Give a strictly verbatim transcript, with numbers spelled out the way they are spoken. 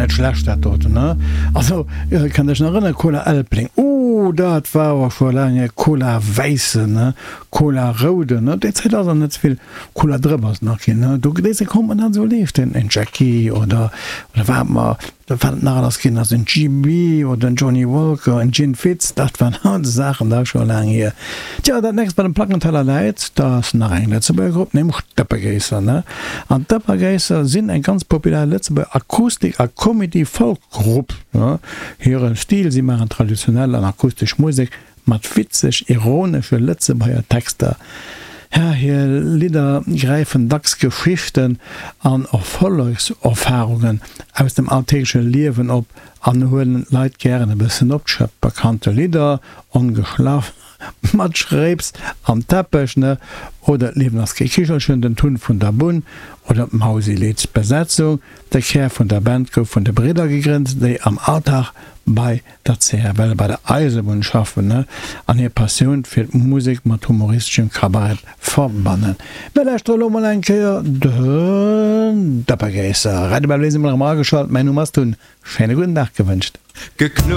Net schlecht dat doten, ne? Also, kënnt Iech nach erënneren, Cola Elbling, oh dat war awer scho laang hier, Cola wäissen, ne, Cola rouden, ne, déi Zäit ass nach net souvill Cola Drëpp ass nach ginn, ne, do déi Zäit konnt man dat esou leeschten, en Jackie oder oder wat mer wat et nach alles ginn ass, en G B oder en Johnnie Walker, en Gin Fizz, dat waren all Saachen, dat ass scho laang hier. Tja, dat nächst wat um Plackenteller läit, dat ass nach eng Lëtzebuerger Grupp, nämlech d'Dëppegéisser, ne? An d'Dëppergéisser sinn eng ganz populär Lëtzebuerger Akustik a Comedy-Folk-Grupp, ne? Hire Stil, si maachen traditionell an akustesch Musek mat witzeg ironesche Lëtzebuerger Texter. Ja, hir Lidder gräifen dacks Geschichten an Erfollegserfarungen aus dem alltägleche Liewen op an huelen d'Leit gären e bëssen op d'Schëpp. Bekannte Lidder, Ongeschlaff mat Schréips am Teppech, ne? Oder D'Liewen ass kee Kichelchen, Den Tun vun der Bunn oder D'Mausilidd. D'Besetzung, De Kär vun der Band gouf vun de Bridder gegrënnt, déi am Alldag bei der C F L bei der Eisebunn schaffen an hir Passioun fir d'Musek mat humoristeschem Kabarett verbannen. Mir lauschtere lo mol eng Kéier den Dëppegéisser. Radio Bäbel, si mol erëm ageschalt. Mäin Numm ass Tun. Schéine gudden Dag gewënscht. Geknuddelt.